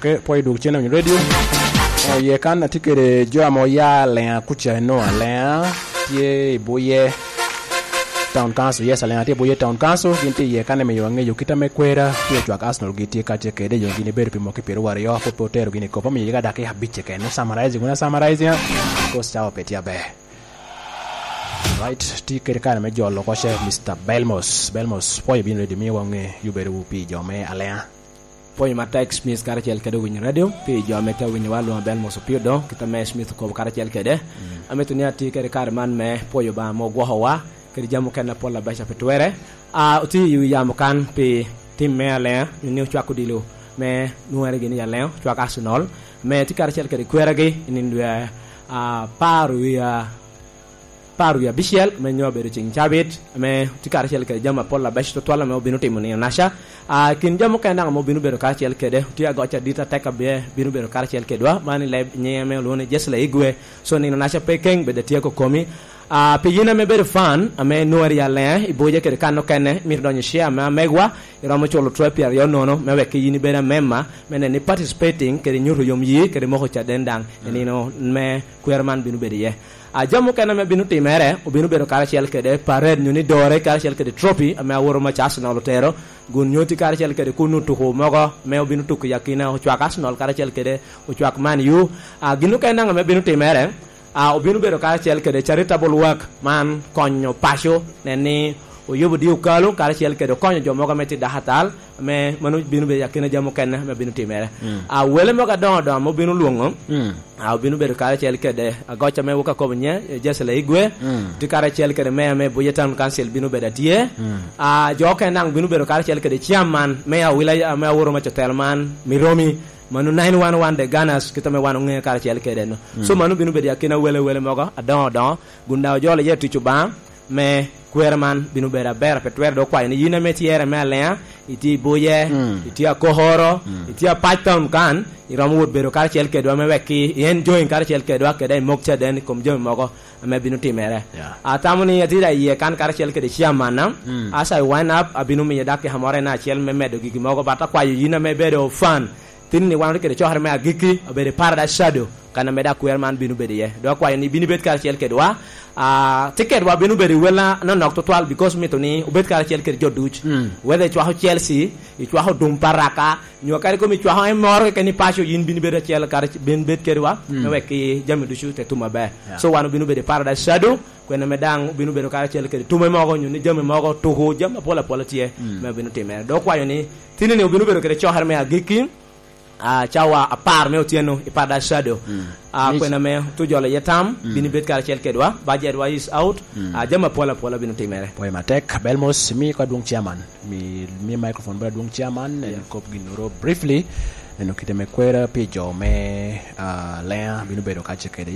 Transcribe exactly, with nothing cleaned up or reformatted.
Eh, pwod idwog cen i Radio. Oh, ye kan atye kede jo ame oya Alea kuca, eno Alea tye i Buye Town Council. Yes, Alea tye i Buye Town Council. Gin tye iye kan, miyo angeyo kit ame kwera tye ocwak Arsenal gi tye kacce kede, jo gin ibedo pi mwaki pyero aryo, pwod pe otero gin i kop. Amiyo yega dakika abic keken. Summarizing, wuna summarizing, because cawa pe tye aber. Right, tye kede kare me jolo koce, Mister Belmos. Belmos, pwoyo bino ready, miyo wange yubedo pi jo me Alea. Pwony matek, Smith karacel kede owinyo radio, pi jo ame tye awinyowa, lwonga Belmos Opio Odongo, kit ame Smith okobo karacel kede. Mm. Amito ni ati kede kare man me pwoyo Obaŋa ame ogwokowa, kede jami mukene apol abeca pe twere. Ah, otye i wi yamo kan pi tim me Alea, ni ocwako odilo me nwoŋere gini i Alea, ocwako Arsenal, me tye karacel kede kweragi i nino dwe, ah, apar wie, ah, apar wie abicel, ame nyo obedo ceŋ cabit, ame tye karacel kede jami apol abeco tutwal ame obino timo nino naca. Ah, kin jami mukene daŋ ame obino bedo karacel kede, tye agoc adit atek abe bino bedo karacel kedwa, man i leb nyiŋe ame olwoŋo ni Jesse Laigwe. So, nino naca pe keŋ, bed atyeko komi. Ah, pi yin ame bedo fan, ame nwoŋeri i Alea, i Buye kede kan okene, mito donyo i share me amegwa, iromo culo twelve pyeraryo nono, me wek yin ibed amemba, me neno ni participating, kede nyuto yom yi, kede moko caden daŋ, i nino me kwer man bino bedo iye. Ah, jami mukene ame bino timere, obino bedo karacel kede parade, nyo ni dore karacel kede trophy, ame aworo mac Arsenal otero, gun nyoti karacel kede kun otuko mogo, me obino tuko i akina, ocwak Arsenal karacel kede ocwak Man U. Ah, gin okene daŋ ame bino timere, ah, obino bedo karacel kede charitable work, man konyo paco, nen ni oyubo di okalo, karacel kede okonyo jo mogo ame tye dakatal, ame mano bino bedo i akina jami okene ame bino timere. Mm. Ah, wele mogo adoŋo adoŋo ame obino lwoŋo, mm, ah, obino bedo karacel kede agoc ame wok akobo nye, eh, Jesse Laigwe, mm, tye karacel kede meya me Buye Town Council bino bedo atye. Mm. Ah, jo okene daŋ bino bedo karacel kede chairman me awila, ame aworo mac otelo man, Miromi, mano nine one one The Gunners, kit ame wan oŋeo karacel kede no. Mm. So, mano bino bedo i akina wele, wele mogo adoŋo adoŋo, gun daŋ ojolo iye tic Obaŋa, me kwero man bino bedo aber, pe twero dok kwayo ni yin ame tye ere me Alea, itye i Buye, mm, itye Akokoro, mm, itye Apac Town kan, iromo wot bedo karacel kedwa me wek i enjoying karacel kedwa, kede i mok caden i kom jami mogo ame bino timere. Yeah. Atamo ni atye da iye kan karacel kede chairman na, mm, as I wind up, abino miyo dakika moro en acel me medo gigi mogo, but akwayo yin ame ibedo fan, tin ni wan otye kede cokere me agikki, obedo i Paradise Shadow, kan ame dak kwer man bino bedo iye. Dok akwayo ni bino ibed karacel kedwa. Ah, tye kedwa bino bedo i wel anonok tutwal, because mito ni obed karacel kede jo duc. Mm. Whether icwako Chelsea, icwako dum Paraka, nyo kadi komi icwako en moro keken i paco, yin bino bedo acel, kara-, bin bed kedwa, mm, me wek i jami ducu te tum maber. Yeah. So wan obino bedo i Paradise Shadow, kwene me daŋ obino bedo karacel kede tume mogo, nyo ni jami mogo, tuku, jami apol apol tye, mm, me obino timere. Dok okwayo ni, tin ni obino bedo kede cokere me agikki, ah, cawa apar me otyeno i Paradise Shadow. Mm. Ah, kwena me tu jolo iye tam, mm, bino ibed karacel kedwa, budget wa is out, mm, ah, jami apol apol bino timere. Pwoyo matek, Belmos, mi ko adwong chairman, mi, mi microphone bala adwong chairman, en, yeah, kop ginnoro briefly, neno kite me kwera pi jo me, ah, Alea bino bedo kacce kede.